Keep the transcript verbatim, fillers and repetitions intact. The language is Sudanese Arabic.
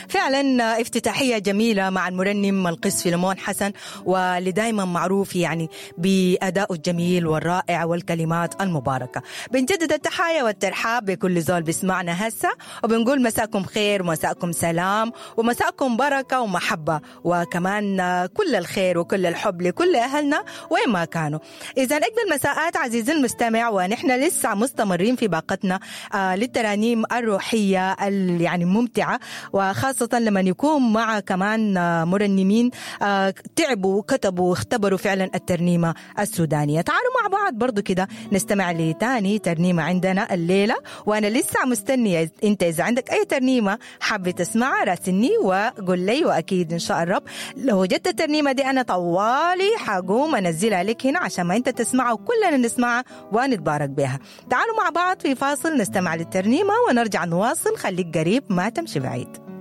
فعلا افتتاحية جميلة مع المرنم القس فيلمون حسن، واللي دايما معروف يعني بأدائه الجميل والرائع والكلمات المباركة. بنجدد التحايا والترحاب بكل زول بيسمعنا هسه، وبنقول مساكم خير ومساكم سلام ومساكم بركة ومحبة، وكمان كل الخير وكل الحب لكل أهلنا وين ما كانوا. إذا أجمل مساءات عزيزي المستمع، ونحن لسه مستمرين في باقتنا آه للترانيم الروحية يعني ممتعة، وخاصة لما يكون مع كمان مرنمين آه تعبوا وكتبوا واختبروا فعلا الترنيمة السودانية. تعالوا مع بعض برضو كده نستمع لتاني ترنيمة عندنا الليلة، وأنا لسه مستنية أنت إذا عندك أي ترنيمة حابة تسمعها راسلني وقول لي، وأكيد إن شاء الرب لو وجدت الترنيمة دي أنا طوالي حقوم أنزلها لك هنا عشان ما أنت تسمعها وكلنا نسمعها ونتبارك بها. تعالوا مع بعض في فاصل نستمع للترنيمة ونرجع نواصل. خليك قريب ما تمشي بعيد.